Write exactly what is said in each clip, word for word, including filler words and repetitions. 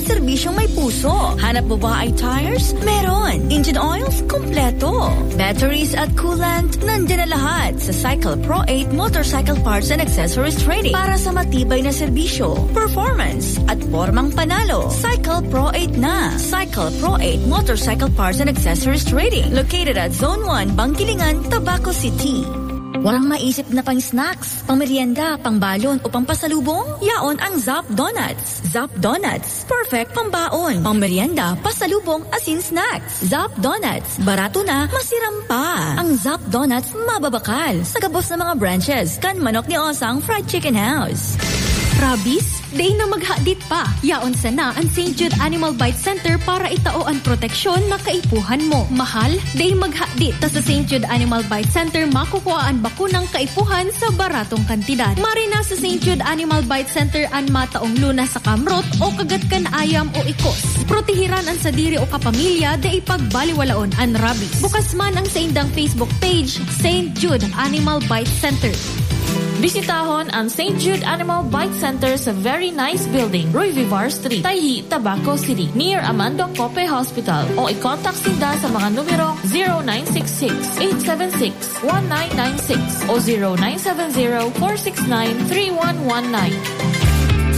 Serbisyong may puso. Hanap mo ba ay tires? Meron. Engine oils? Kompleto. Batteries at coolant? Nandyan na lahat sa Cycle Pro eight Motorcycle Parts and Accessories Trading para sa matibay na serbisyo, performance, at pormang panalo. Cycle Pro eight na. Cycle Pro eight Motorcycle Parts and Accessories Trading, located at Zone one, Bangkilingan, Tabaco City. Walang maisip na pang-snacks, pang-merienda, pang-balon o pang-pasalubong? Yaon ang Zap Donuts. Zap Donuts, perfect pambaon, pang-merienda, pasalubong, asin snacks. Zap Donuts, barato na, masiram pa. Ang Zap Donuts mababakal sa gabos na mga branches kan Manok ni Osang Fried Chicken House. Rabies? Dai na maghadit pa. Yaon sana an Saint Jude Animal Bite Center para itao an proteksyon na kaipuhan mo. Mahal? Dai maghadit. Ta sa Saint Jude Animal Bite Center, makukua an bakunang kaipuhan sa baratong kantidad. Maray na sa Saint Jude Animal Bite Center an mataong lunas sa kamrot o kagat kan ayam o ikos. Protehiran an sadiri o kapamilya, dai pagbaliwalaon an rabies. Bukas man ang saindang Facebook page, Saint Jude Animal Bite Center. Bisitahon ang Saint Jude Animal Bite Center sa Very Nice Building, Roy Vivar Street, Tayhi, Tabaco City, near Amando Cope Hospital, o i-contact sinda sa mga numerong zero nine six six, eight seven six, one nine nine six o zero nine seven zero, four six nine, three one one nine.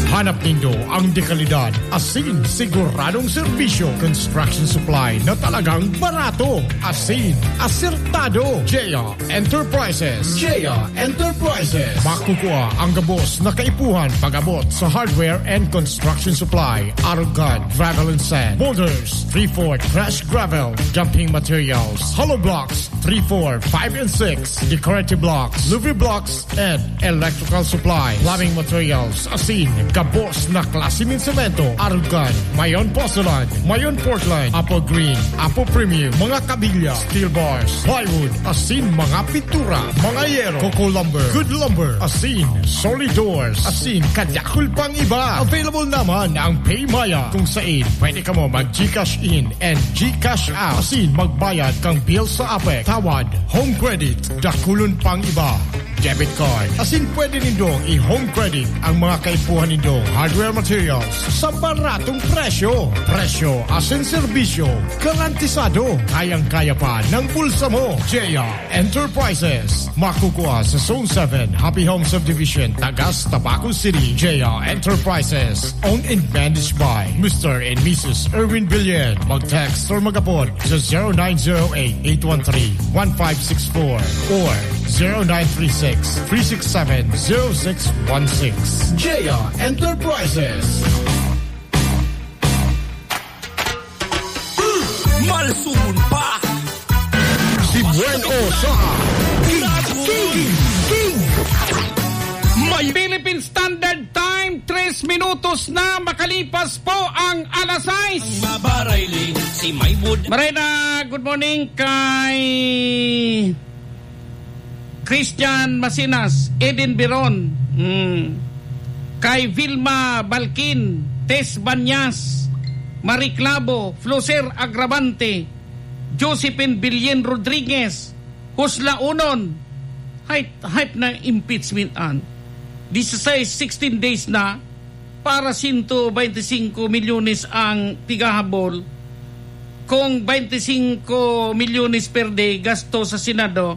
Hanap nindo ang dekalidad, asin siguradong serbisyo, construction supply na talagang barato, asin asertado. J R Enterprises. J R Enterprises. Makukua ang gabos na kaipuhan pag-abot sa hardware and construction supply, arog kan gravel and sand, boulders, three four trash gravel, dumping materials, hollow blocks, three four, five and six, decorative blocks, louver blocks, and electrical supply, plumbing materials, asin gabos na klase nin semento, arog kan Mayon Porcelain, Mayon Portland, Apple Green, Apple Premium, mga kabilya, steel bars, plywood, asin mga pintura, mga yero, Coco Lumber, Good Lumber, asin solid doors, asin kadakul pang iba. Available naman ang PayMaya, kung sain pwede kamo mag-GCash in and GCash out, asin magbayad kang bill sa APEC, tawad, home credit, dakulon pang iba. Debit card. Asin pwede nindong i-home credit ang mga kaipuhan nindong hardware materials sa baratong presyo. Presyo asin serbisyo garantisado. Kayang-kaya pa ng bulsa mo. J R Enterprises. Makukua sa Zone seven, Happy Home Subdivision, Tagas, Tabaco City. J R Enterprises. Owned and managed by Mister and Missus Erwin Billen. Mag-text or mag-apod sa zero nine zero eight, eight one three, one five six four or zero nine three six, three six seven, zero six one six. J R Enterprises. Malsumon pa si Buen O sa King, King, King. May Philippine Standard Time, tres minutos na makalipas po ang alas sais. Ang mabarayling si Maywood. Maray na, good morning kay Christian Masinas, Eden Biron, mm, kay Vilma Balkin, Tess Banyas, Marie Clavo, Floser Agravante, Josephine Bilyen Rodriguez, Husla Unon, hype, hype na impeachment an. Disisais, sixteen days na, para sento baynte singko milyones ang pigahabol. Kung baynte singko milyones per day gasto sa Senado,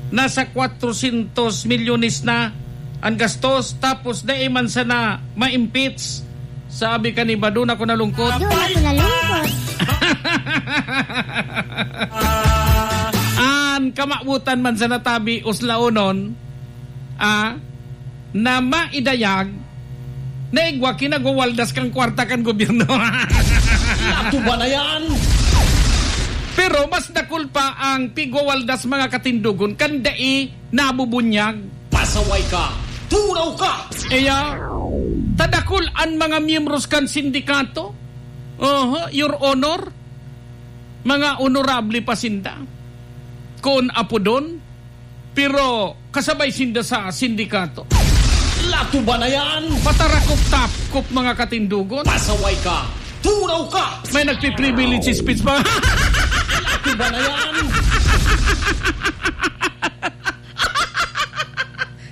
nasa kwatrosyentos milyones na ang gastos, tapos dai man sana ma-impeach. Sabi kan iba, dun ako nalungkot. Dun ako nalungkot. An kamawotan man sana tabi, Husla Unon, ah, na maidayag, na igwa ki nagwawaldas kan kwarta kan gobyerno. Lato ba na yan? Pero mas dakul pa ang pigwawaldas, mga katindogon, kan dai nabubunyag. Pasaway ka! Turaw ka! Iya, ta dakul an mga miyembros kan sindikato. Oho, Your Honor. Mga honorable pa sinda, kun apodon, pero kasabay sinda sa sindikato. Lato ba na yan? Patarakop-tapkop, mga katindogon. Pasaway ka! Turaw ka! May nagpi-privilege speech pa. Lato ba na yan?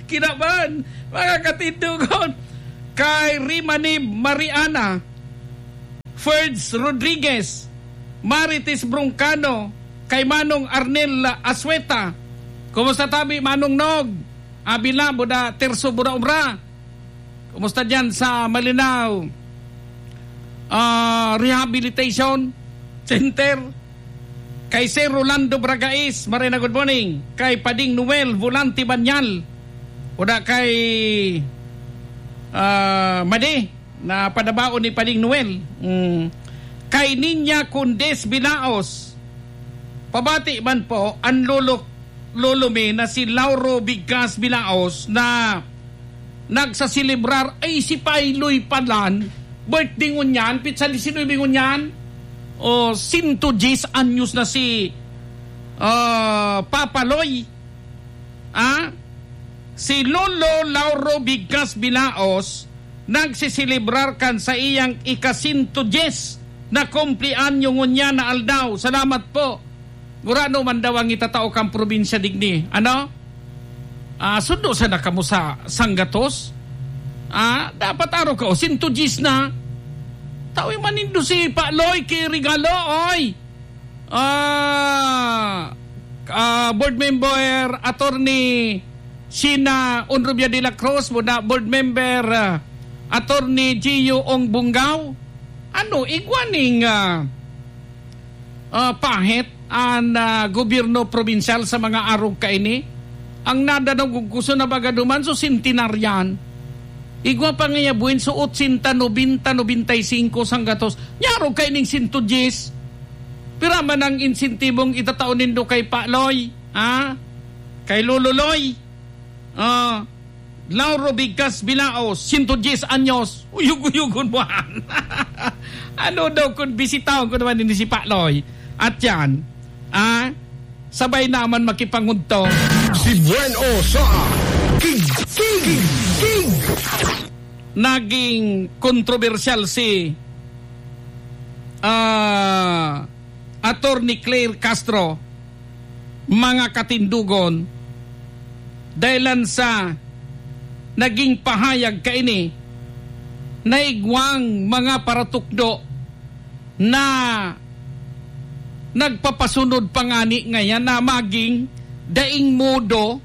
Kinaban, mga katindogon. Kay Rimanib Mariana, Ferds Rodriguez, Marites Broncano, kay Manong Arnel Asueta. Kumusta tabi, Manong Nog? Abila, buda, Terso, buda, Obra. Kumusta diyan sa Malinao, ah, Rehabilitation Center? Kay Sir Rolando Bragais, Marina, good morning. Kay Pading Noel Volante Banyal. Buda kay, ah, Madi. Na padabaon ni Pading Noel. Mm. Kay Niña Condes Bilaos, pabati man po an lolo, lolo mi na si Lauro Bigas Bilaos na nagsaselebrar. Ay, si Pailoy palan, birthday ngunyan, pitsa disinuybe ngunyan. O, sinto dyes anyos na si, ah, Papa Loy. Ah, si Lolo Lauro Bigas Bilaos nagseselebrar kan saiyang ika-sinto dyes na kumpleanyo ngunyan na aldaw. Salamat po. Gurano man daw ang itatao kan probinsya digdi. Ano? Ah, sundo sana kamo sa sanggatos? Ah, dapat araw ka, o, sinto dyes na. Tawi man nindo si Pa Loy ki regalo, oy. Ah, ah, Board Member Attorney Sheena Onrubia de la Cruz, muna Board Member, ah, Attorney Gio Ong Bungao. Ano, igwa ning, ah, ah, pahit an, ah, gobyerno probinsyal sa mga arog kaini? Ang nadanaw gud gusto na baga duman, so sentenaryan. Igwa pa ngaya buin, so otsenta, nobenta, nobenta y singko, sanggatos. Nyarog kaining sinto dyes. Pira man ang insentibong itatao nindo kay Pa Loy, ha? Kay Lolo Loy? Ah, Lauro Bigas Bilaos, sinto dyes anyos. Uyog-uyogon mo, han. Ano daw kung bisitahon ko naman ini si Pa Loy? At yan, ah, sabay naman makipangudto. Si Buen O sa King, King, King. Naging kontrobersyal si, ah, Attorney Claire Castro, mga katindogon, dahilan sa naging pahayag kaini na igwang mga paratukdo na nagpapasunod pa ngani ngayan na maging daing modo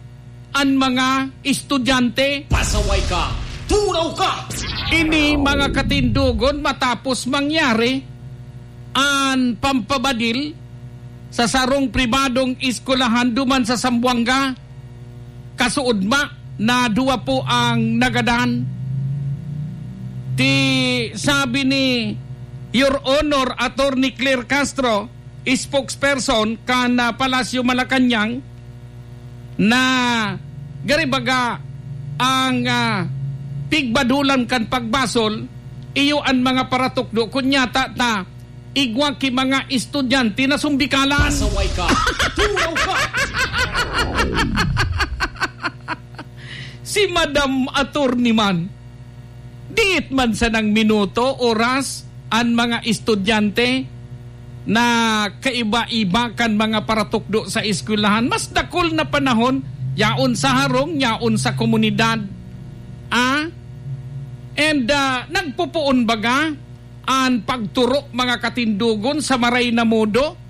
an mga estudyante. Pasaway ka! Turaw ka! Ini mga katindogon matapos mangyari an pampabadil sa sarong pribadong eskwelahan duman sa Zamboanga. Kasuodma na duwa po ang nagadan. Ti sabi ni Your Honor Attorney Claire Castro, spokesperson kan, ah, Palasyo Malacañang, na gari baga ang, ah, pigbadulan kan pagbasol, iyo an mga paratukdo, kun nyata ta igwa ki mga estudyante na sumbikalan. Pasaway ka! Turaw ka! Si Madam Attorney man, diit man sanang minuto, oras, an mga estudyante na kaiba-iba kan mga paratukdo sa eskwelahan. Mas dakul na panahon, yaon sa harong, yaon sa komunidad. Ah? And, ah, nagpupuon baga an pagturo, mga katindogon, sa maray na modo,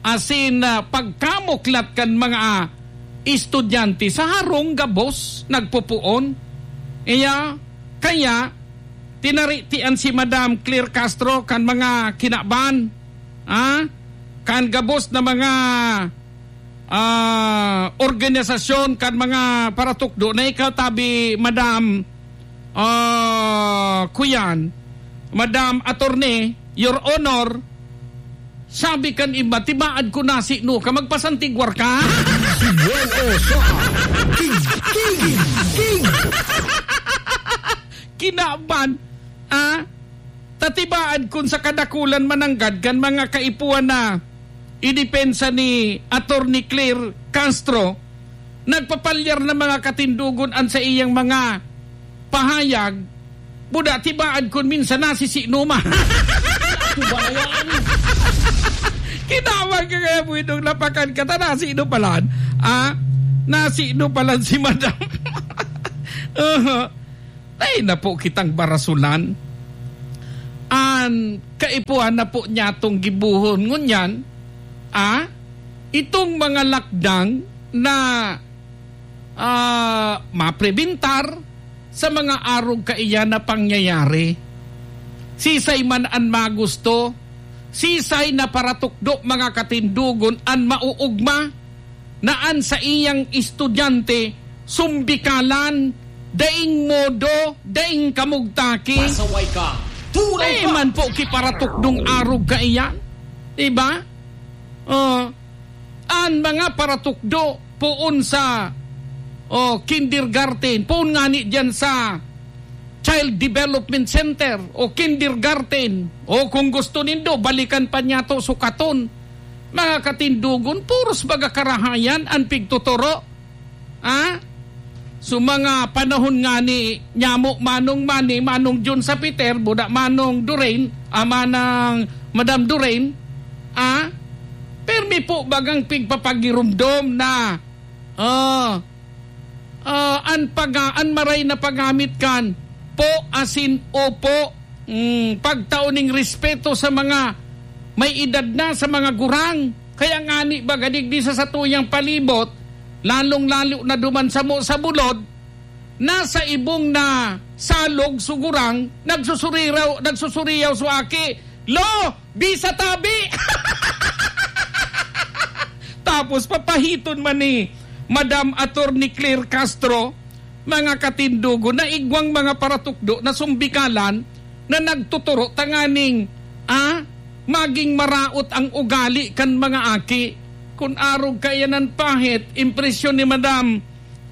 asin, ah, pagkamuklat kan mga, ah, estudyante sa harong gabos nagpupuon. Iya, kaya, tinaritian si Madam Claire Castro kan mga kinaban, ah, kan gabos na mga, ah, organisasyon, kan mga paratukdo na ikaw, tabi, Madam, ah, kuyan, Madam Attorney, Your Honor, sabi kan iba, "Tibaad ko nasi no ka, magpasantigwar ka." Si Buen O sa King, King, King. Kinaban, ah? Tatibaad kun sa kadakulan mananggad kan mga kaipuhan na idepensa ni Attorney Claire Castro, nagpapalyar na mga katindogon an saiyang mga pahayag, buda tibaad kun minsan nasisinuman. Tubayan! Kinawag ka kaya, Buidong, lapakan ka, ta nasino palan? Ah? Nasino palan si Madam? Aha. Ay, napo kitang barasulan. Ah, kaipuhan na po niya tong gibohon ngunyan, ah, itong mga lakdang na, ah, maprebentar sa mga arog kaiyan na pangyayari. Sisay man an magusto, sisay na paratukdo, mga katindogon, an mauugma na an saiyang estudyante sumbikalan, daing modo, daing kamugtaki. Pasaway ka! Turaw Dai ka! man po ki paratukdong arog kaiyan. Diba? Oh, an mga paratukdo poon sa, oh, kindergarten, poon ngani diyan sa Child Development Center o kindergarten, o kung gusto nindo, balikan pa niya to, sukaton. Mga katindogon, puros baga karahayan an pigtuturo. Ah? So, mga panahon ngani, nyamo Manong Manny, Manong Jun sa Peter, buda Manong Doreen, ama ng Madam Doreen, ah? Permi po bagang pigpapagirumdom na, ah, ah, an paga-, an maray na paggamit kan po asin opo, mm, pagtao ning respeto sa mga may edad na, sa mga gurang. Kaya ngani, baga digdi sa satuyang palibot, lalong-lalo na duman samo sa bulod, nasa ibong na salog, sugurang, nagsusuriyaw, nagsusuriyaw so aki, "Lo, bisa tabi!" Tapos papahiton man ni Madam Attorney Claire Castro, mga katindogon, na igwang mga paratukdo na sumbikalan na nagtuturo tanganing, ah, maging maraot ang ugali kan mga aki. Kun arog kaiyan an pahit, impresyon ni Madam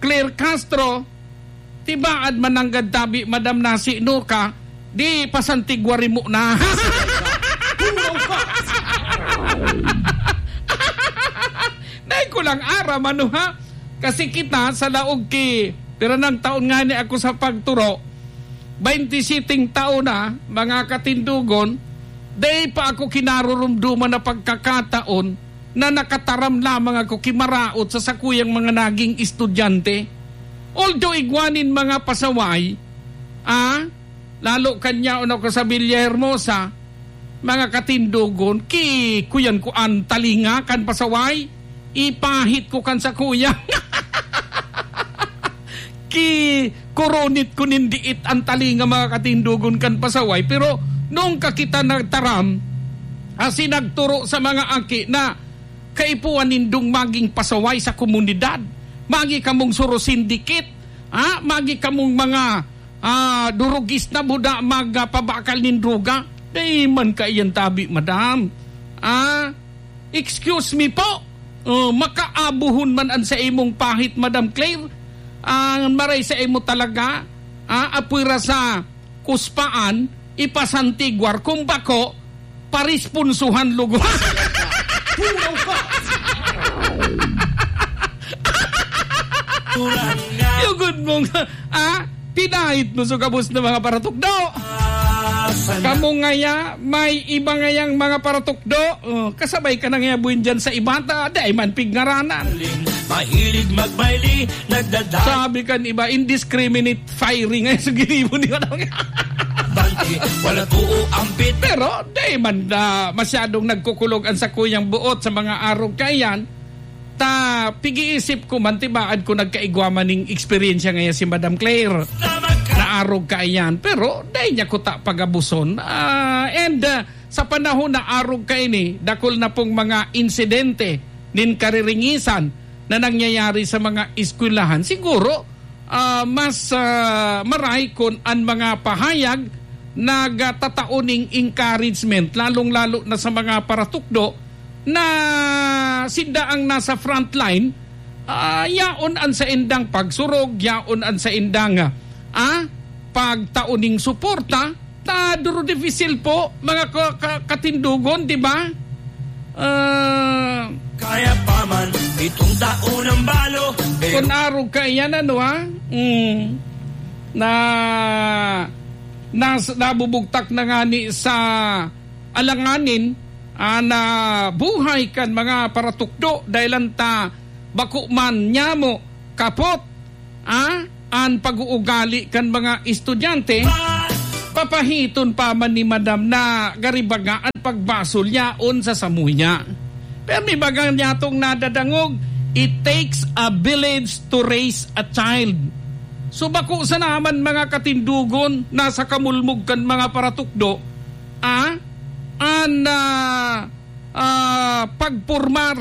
Claire Castro, tibaad mananggad tabi, Madam, nasi no ka, di pasantigwari mo na. Dai ko lang aram, ano, ha? Kasi kita, sa laog ki, pira nang taon ngani ako sa pagturo, baynte siyete taon na, mga katindogon, dai pa ako kinarurumduman na pagkakataon na nakataram lamang ako ki maraot sa sakuyang mga naging estudyante. Although igwa nin mga pasaway, ah, lalo kan yaon ako sa Villahermosa, mga katindogon, ki kuyan ko an talinga kan pasaway, ipahit ko kan sakuya. Ki kurunit ko nin diit an talinga, mga katindogon, kan pasaway. Pero nung ka kita nagtaram, asin nagturo sa mga aki na kaipuhan nindong maging pasaway sa komunidad, magi kamong surusindikit, ha? Magi kamong mga, ah, durugis na buda magpabakal nin droga. Dai man kaiyan tabi, madam. Ah, excuse me po. Oh, makaabuhon man an sa imong pahit, Madam Claire. Ang maray sa imo talaga, ah, apwera sa kuspaan, ipasantigwar, kung bako, paresponsuhan lugod. Tulaw ka! Tulang nga! Lugod mong, ah, pinahit mo sa gabos na mga paratukdo. Ah, sana. Kamo ngaya, may iba ngayang mga paratukdo. Oh, kasabay ka na ngaya buin dyan sa iba, ta, dai man pig ngaranan. Mahilig magmayli, nagdadala. Sabi kan iba, indiscriminate firing ay sa ginibo niya. Bangke, wala too ampit. Pero, di man, ah, masyadong nagkukulog ang sakuyang buot sa mga arog kaiyan. Ta, pig-iisip ko man, tibaad ko nagkaigwa man ning eksperyensya ngaya si Madam Claire. Tama ka. Na arog kaiyan. Pero, dai niya kuta pagabuson. Ah, and, ah, sa panahon na arog kaini, dakul na pong mga insidente nin kariringisan na nangyayari sa mga eskwelahan. Siguro, ah, mas, ah, maray kun an mga pahayag nagtatao ning encouragement, lalong-lalo na sa mga paratukdo na sinda ang nasa frontline, ah, yaon an saindang pagsurog, yaon an saindang, ah, pagtao ning suporta, ta duro dipisil po, mga ka-, ka-, katindogon, di ba? Ah, Kaya pa man, pitong taon ang balo, pero kun arog kaiyan, ano, ha? Mm. Na, nas-, nabubugtak na ngani sa alanganin, ah, na buhay kan mga paratukdo, dahil ta bako man nyamo kapot, ah, an pag-uugali kan mga estudyante. Pa- Pahiton pa man ni Madam na gari baga an pagbasol yaon sa samuya. Pero may baga niya tong nadadangog, "It takes a village to raise a child." So, bako sana man, mga katindogon, nasa kamulmog kan mga paratukdo, ah, an, ah, ah, pagpormar,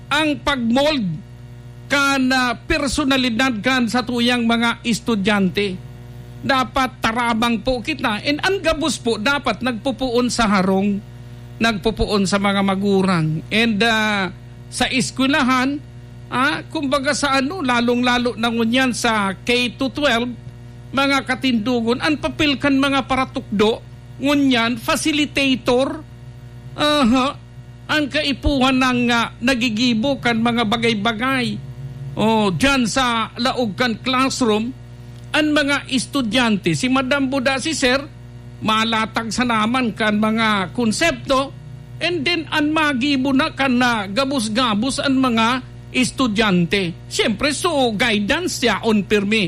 ang pagmold kan, ah, personalidad kan satuyang mga estudyante. Dapat tarabang po kita. And ang gabos po, dapat nagpupuon sa harong, nagpupuon sa mga magurang. And, ah, sa eskwelahan, ah, kumbaga sa ano, lalong-lalo na ngunyan sa K to twelve, mga katindogon, ang papel kan mga paratukdo, ngunyan, facilitator, aha, ang kaipuhan ng, ah, nagigibo kan mga bagay-bagay. O, diyan sa laog kan classroom, ang mga estudyante, si Madam Buda, si Sir, malatag sa naman kan mga konsepto, and then an magibo na kan na gabos-gabos an mga estudyante. Siyempre, so guidance yaon pirmi,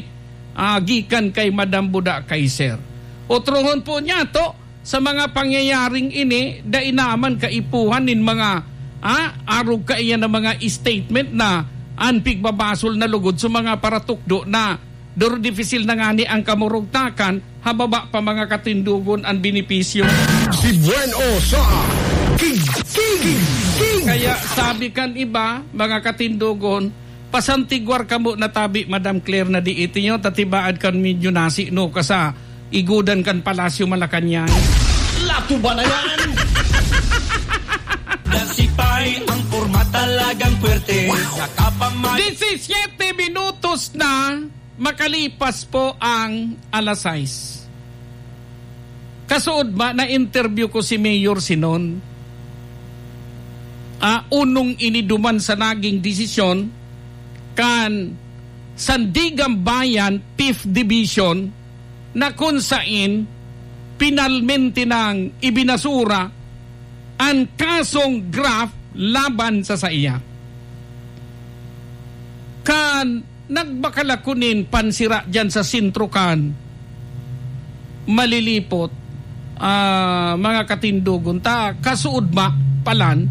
ah, gikan kay Madam Buda, kay Sir. Otrohon po niya to, sa mga pangyayaring ini, dai naman kaipuhan nin mga, ah, arog kaiyan na mga statement na an pigbabasol na lugod sa mga paratukdo na duro dipisil na ngani ang kamurugtakan, hababa pa mga katindogon an benepisyo. Si Buen O sa King, King, King. Kaya sabi kan iba, mga katindogon, pasantigwar kamo na tabi, Madam Claire, na di iti nyo, tatibaad kan medyo nasi, no, kasa igudan kan Palasyo Malacañang. Latuba na yan! Nasipay ang porma, talagang puwerte. Nakapamag- Disisiyete minutos na makalipas po ang alas sais. Kasuodma, na-interview ko si Mayor Sinon. Ah, unong ini duman sa naging desisyon kan Sandiganbayan Fifth Division, na kun sain pinalmente nang ibinasura an kasong graft laban sa saiya. Kan nagbakal ako nin pansira diyan sa sentro kan Malilipot, ah, mga katindogon, ta kasuodma palan,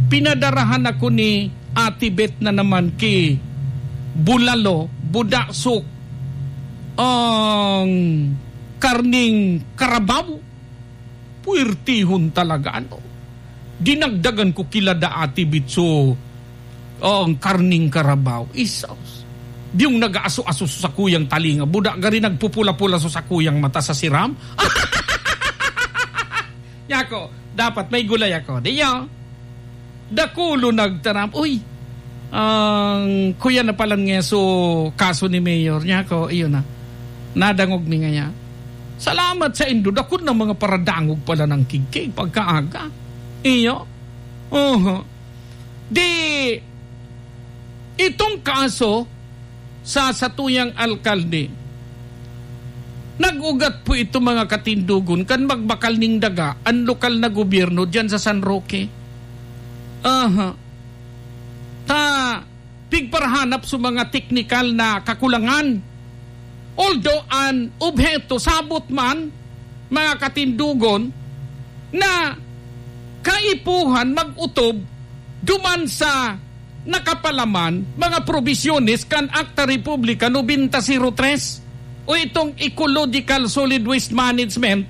pinadarahan ako ni Ate Beth na naman ki bulalo, buda, sok, ang karning karabaw. Puwertihon talaga, ano? Dinagdagan ko kila da Ate Beth so, ang karning karabaw. Isos. Diyong nag-aaso-aso sa sakuyang talinga. Buda gari nagpupula-pula sa sakuyang mata sa siram. Yako, dapat may gulay ako. Di nyo? Dakulo nagtaram, "Uy, ang kuya na palan nga so kaso ni Mayor." Niya ako, iyon na. Nadangog mi ngaya. Salamat sa indo, dakul na mga paradangog pala ng kigkig pagkaaga. Iyo. Oho. Di, itong kaso, sa satuyang alkalde. Nag-ugat po ito, mga katindogon, kan magbakal ning daga an lokal na gobyerno diyan sa San Roque. Aha. Ta, pigparahanap sa mga teknikal na kakulangan. Although an obheto sabot man, mga katindogon, na kaipuhan mag-utob duman sa nakapalaman mga probisyones kan Akta Republika nobenta zero tres o itong Ecological Solid Waste Management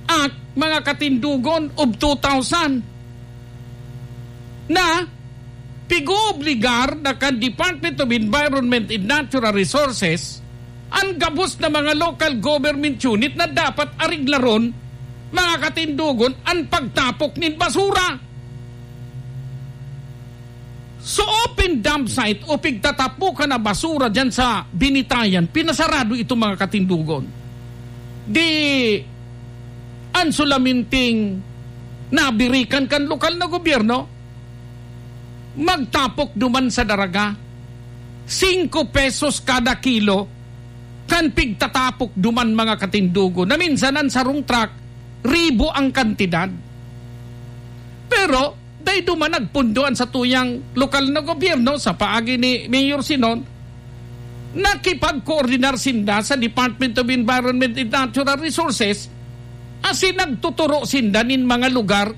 Act, mga katindogon, of two thousand, na pig-oobligar na kan Department of Environment and Natural Resources an gabos na mga local government unit na dapat areglaron, mga katindogon, an pagtapok nin basura. So, open dump site o pigtatapokan na basura diyan sa Binitayan, pinasarado ito, mga katindogon. Di, an sulaminting nabirikan kan lokal na gobyerno, magtapok duman sa daraga. Singko pesos kada kilo kan pigtatapok duman, mga katindogon, na minsan an sarong truck, ribo ang kantidad. Pero, dai duman nagpundo an satuyang lokal na gobyerno sa paagi ni Mayor Sinon, nakipagkoordinar sinda sa Department of Environment and Natural Resources Asin nagtuturo sinda nin mga lugar